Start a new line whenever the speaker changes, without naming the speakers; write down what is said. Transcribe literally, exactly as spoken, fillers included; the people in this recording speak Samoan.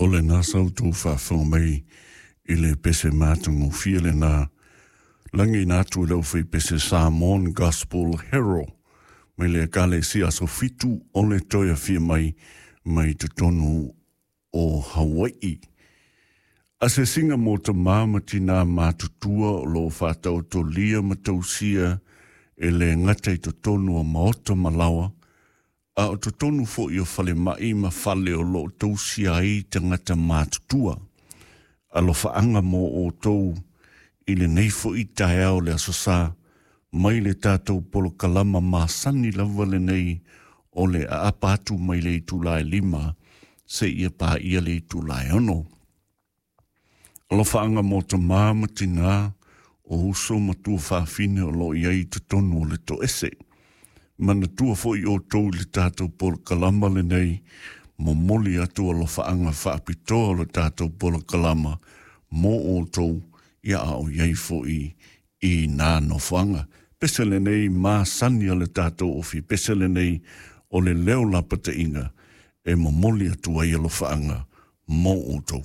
O lena sa outou faafofoga mai i le pese matagofie lena lagiina atu e le aufaipese Samoan Gospel Herald mai le Ekalesia Aso Fitu o le Toe Afio Mai mai totonu o Hawai'i. Asiasiga mo tamā ma tinā matutua o loo faataotolia ma tausia e le gata i totonu o maota ma laoa, a o totonu fo'i o falema'i ma fale o loo tausia ai tagata matutua. Alofaaga mo outou i lenei fo'i taeao le Aso Sa mai le tatou polokalama masani lava lenei o le aapa atu mai le itula e lima seia paia le itula e ono. Alofaaga mo tamā ma tinā o uso ma tuafafine o loo i ai i totonu o le toese. Manatua fo'i outou i le tatou polokalama lenei momoli atu alofaaga faapitoa o le tatou polokalama mo outou ia a o i ai fo'i i nā nofoaga. Pese lenei masani a le tatou ofi, pese lenei o le leo lapataiga e momoli atu ai alofaaga mo outou.